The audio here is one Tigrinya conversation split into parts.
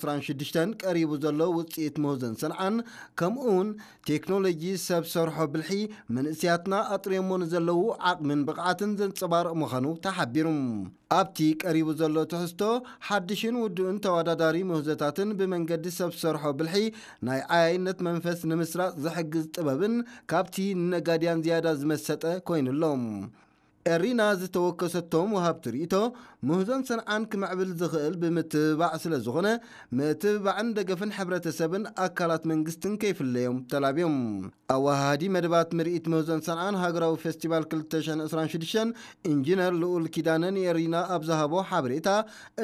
ዕስራን ሽዱሽተን ቀሪቡ ዘሎ ውፅኢት ምህዞን ሰንዓን፣ ከምኡውን ቴክኖሎጂ ሰብ ሰርሖ ብልሒ፣ መንእሰያትና ኣጥርዮሞ ንዘለዉ ዓቕምን ብቕዓትን ዘንጸባርቕ ምዃኑ ተሓቢሩ። ኣብቲ ቀሪቡ ዘሎ ትሕዝቶ፣ ሓድሽን ውዱእን ተወዳዳሪ ምህዞታትን ብመንገዲ ሰብ ሰርሖ ብልሒ ናይ ዓያይነት መንፈስ ንምስራጽ ዝሕግዝ ጥበብን ካብቲ ንነጋድያን ዝያዳ ዝመሰጠ ኮይኑ ኣሎ። ኤሪና ዝተወከሰቶም ወሃብቲ ርእይቶ፣ ምህዞን ሰንዓን ክምዕብል ዝኽእል ብምትብባዕ ስለ ዝኾነ፣ ምትብባዕን ደገፍን ሕብረተሰብን ኣካላት መንግስትን ከይፍለዮም ተላብዮም። ኣወሃሃዲ መደባት ምርኢት ምህዞን ሰንዓን ሃገራዊ ፌስቲቫል ክልተ ሽሕን ዕስራን ሽዱሽተን ኢንጂነር ልኡል ኪዳነ ንኤሪና ኣብ ዝሃቦ ሓበሬታ፣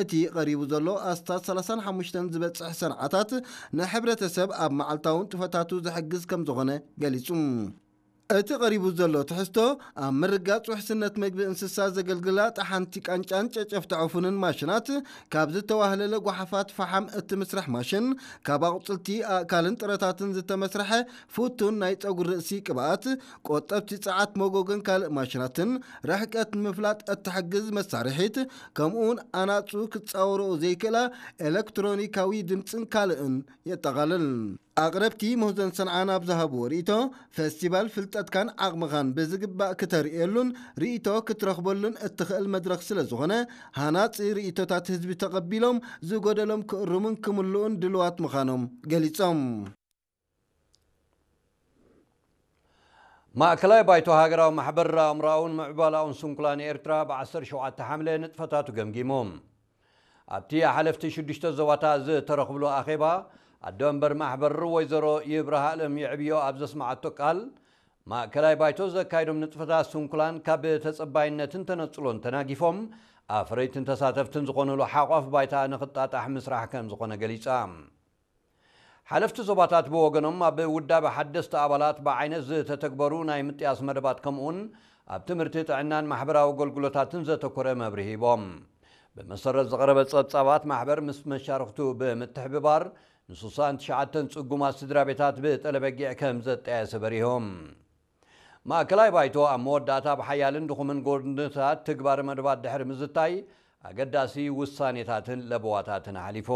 እቲ ቀሪቡ ዘሎ ኣስታት ሰላሳን ሓሙሽተን ዝበጽሕ ሰንዓታት ንሕብረተሰብ ኣብ መዓልታዊ ንጥፈታቱ ዝሕግዝ ከም ዝኾነ ገሊጹ። እቲ ቀሪቡ ዘሎ ትሕዝቶ፣ ኣብ ምርጋጽ ውሕስነት መግቢ እንስሳ ዘገልግላ ጠሓንቲ ቃንጫን ጨጨፍቲ ዕፉንን ማሽናት፣ ካብ ዝተዋህለለ ጓሓፋት ፈሓም እትምስርሕ ማሽን፣ ካብ ኣቑጽልቲ፣ ኣእካልን ጥረታትን ዝተመስርሐ ፍቱን ናይ ጸጉሪ ርእሲ ቅብኣት፣ ቆጠብቲ ጸዓት መጎጎን ካልእ ማሽናትን፣ ርሕቀት ንምፍላጥ እትሕግዝ መሳርሒት፣ ከምኡውን ኣናጹ ክጻወርኦ ዘይክእላ ኤለክትሮኒካዊ ድምጽን ካልእን የጠቓልል። ኣቕረብቲ ምህዞን ሰንዓን ኣብ ዝሃብዎ ርእይቶ፣ ፈስቲቫል ፍልጠትካን ዓቕምኻን ብዝግባእ ክተርእየሉን ርእይቶ ክትረኽበሉን እትኽእል መድረኽ ስለ ዝኾነ፣ ሃናጺ ርእይቶታት ህዝቢ ተቐቢሎም ዝጎደሎም ክእርሙን ክምልኡን ድልዋት ምዃኖም ገሊጾም። ማእከላይ ባይቶ ሃገራዊ ማሕበር ኣእምሮኣውን ምዕባላውን ስንኩላን ኤርትራ ብ ዓሰርተ ሸውዓተ ሓምለ ንጥፈታቱ ገምጊሙ። ኣብቲ ሓለፍቲ ሽዱሽተ ዞባታት ዝተረኽብሉ ኣኼባ፣ ኣዶ መንበር ማሕበር ወይዘሮ ይብርሃ ኣለም ይዕብዮ ኣብ ዘስመዓቶ ቃል፣ ማእከላይ ባይቶ ዘካየዶም ንጥፈታት ስንኩላን ካብ ተጸባይነትን ተነጽሎን ተናጊፎም፣ ኣፍረይትን ተሳተፍትን ዝኾኑሉ ሓቋፍ ባይታ ንኽጣጣሕ ምስራሕ ከም ዝኾነ ገሊጻ። ሓለፍቲ ዞባታት ብወገኖም፣ ኣብ ውዳበ ሓደስቲ ኣባላት ብዓይነት ዝተተግበሩ ናይ ምጥያስ መደባት፣ ከምኡውን ኣብ ትምህርቲ፣ ጥዕናን ማሕበራዊ ኣገልግሎታትን ዘተኮረ መብርሂ ሂቦም። ብመሰረት ዝቐረበ ጸብጻባት፣ ማሕበር ምስ መሻርኽቱ ብምትሕብባር፣ ን ስሳን ትሽዓተን ጽጉማት ስድራ ቤታት ብጠለበጊዕ ከም ዘጠያየሰ በሪሆም። ማእከላይ ባይቶ ኣብ መወዳእታ ብሓያልን ድኹምን ጎድንታት ትግባር መደባት ድሕሪ ምዝታይ፣ ኣገዳሲ ውሳኔታትን ለበዋታትን ኣሕሊፉ።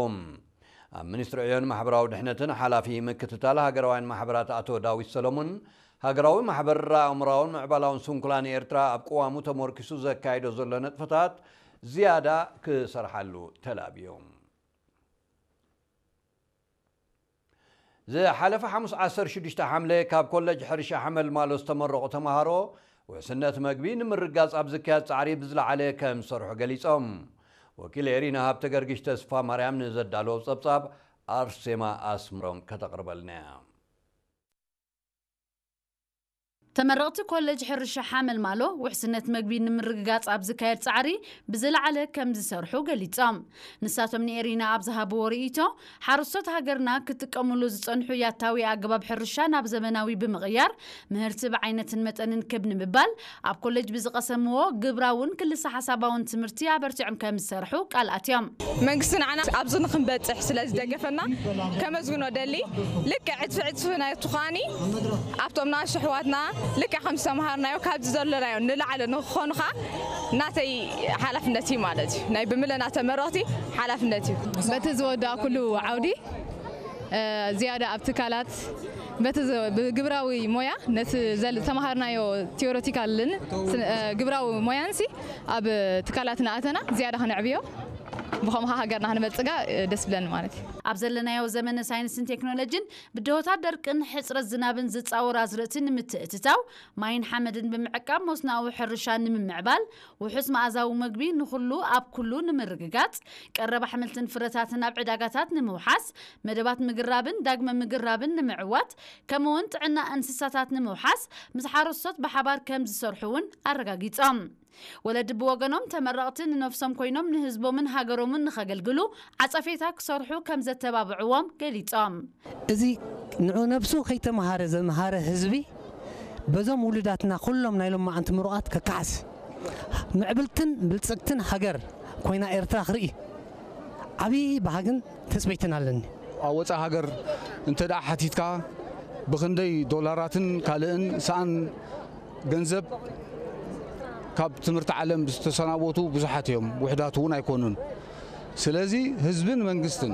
ኣብ ሚኒስትሪ ዕዮን ማሕበራዊ ድሕነትን ሓላፊ ምክትታል ሃገራውያን ማሕበራት ኣቶ ዳዊት ሰለሙን፣ ሃገራዊ ማሕበር ኣእምሮኣውን ምዕባላውን ስንኩላን ኤርትራ ኣብ ቅዋሙ ተመርኪሱ ዘካይዶ ዘሎ ንጥፈታት ዝያዳ ክሰርሓሉ ተላብዮም። ዝሓለፈ ሓሙስ ዓሰርተ ሽዱሽተ ሓምለ ካብ ኮለጅ ሕርሻ ሓመልማሎ ዝተመረቑ ተምሃሮ፣ ውሕስነት መግቢ ንምርጋጽ ኣብ ዝካየድ ጻዕሪ ብዝለዓለ ከም ዝሰርሑ ገሊጾም። ወኪል ኤሪና ሃብተ ገርግሽ ተስፋ ማርያም ንዘዳለዎ ጸብጻብ ኣርሴማ ኣስምሮም ከተቕርበልና እያ። ተመረቕቲ ኮሌጅ ሕርሻ ሓመልማሎ፣ ውሕስነት መግቢ ንምርግጋጽ ኣብ ዝካየድ ጻዕሪ ብዝለዓለ ከም ዝሰርሑ ገሊጾም። ንሳቶም ንኤሪና ኣብ ዝሃብዎ ርእይቶ፣ ሓረስቶት ሃገርና ክጥቀሙሉ ዝጸንሑ ያታዊ ኣገባብ ሕርሻ ናብ ዘመናዊ ብምቕያር፣ ምህርቲ ብዓይነትን መጠንን ክብ ንምባል፣ ኣብ ኮሌጅ ብዝቐሰምዎ ግብራውን ክልሰ ሓሳባውን ትምህርቲ ኣበርቲዖም ከም ዝሰርሑ ቃል ኣትዮም። መንግስቲ ንዓና ኣብዚ ንክንበጽሕ ስለ ዝደገፈና ከመስግኖ ደሊ። ልክዕ ዕጽፊ ዕጽፊ ናይ ትዃኒ ኣብቶም ናእሽቱ ኣሕዋትና ልክዕ ከም ዝተምሃርናዮ ካብዚ ዘለናዮ ንላዕሊ ንክኾኑኻ ናተይ ሓላፍነት እዩ ማለት እዩ። ናይ ብምለና ተመረቕቲ ሓላፍነት እዩ። በቲ ዝወዳእኩሉ ዓውዲ፣ እ፣ ዝያዳ ኣብ ትካላት በቲ ዝ-፣ ብግብራዊ ሞያ ነቲ ዘል-፣ ዝተምሃርናዮ ቲዮሬቲካልን ስነ-፣ እ፣ ግብራዊ ሞያንሲ ኣብ ትካላት እናኣተና ዝያዳ ከነዕብዮ፣ ብኸምኡ ሃገርና ክንበልጽጋ፣ እ፣ ደስ ብለኒ ማለት እዩ። ኣብ ዘለናዮ ዘመነ ሳይንስን ቴክኖሎጂን ብድሆታት ደርቅን ሕጽረት ዝናብን ዝጻወር ኣዝርእቲ ንምትእትታው፣ ማይን ሓመድን ብምዕቃብ መስኖኣዊ ሕርሻ ንምምዕባል፣ ውሑስ መኣዛዊ መግቢ ንኹሉ ኣብ ኩሉ ንምርግጋጽ፣ ቀረብ ኣሕምልትን ፍረታትን ኣብ ዕዳጋታት ንምውሓስ፣ መደባት ምግራብን ዳግመ ምግራብን ንምዕዋት፣ ከምኡውን ጥዕና እንስሳታት ንምውሓስ፣ ምስ ሓረስቶት ብሓባር ከም ዝሰርሑ እውን ኣረጋጊጾም። ወለዲ ብወገኖም፣ ተመረቕቲ ንነፍሶም ኮይኖም ንህዝቦምን ሃገሮምን ንኸገልግሉ ዓጸፌታ ክሰርሑ ከም ዘተባብዕዎም ገሊጾም። እዚ ንዑ ነብሱ ከይተምሃረ ዘምሃረ ህዝቢ፣ በዞም ውሉዳትና ኩሎም ናይ ሎማዓንቲ ምሩቓት ከከሓስ፣ ምዕብልትን ብልጽግትን ሃገር ኮይና ኤርትራ ክርኢ ዓብዪ ባህግን ትጽቢትን ኣለኒ። ኣብ ወጻኢ ሃገር እንተ ደኣ ሓቲትካ፣ ብኽንደይ ዶላራትን ካልእን ሰኣን ገንዘብ ካብ ትምህርቲ ዓለም ዝተሰናበቱ ብዙሓት እዮም፣ ውሑዳት እውን ኣይኮኑን። ስለዚ ህዝብን መንግስትን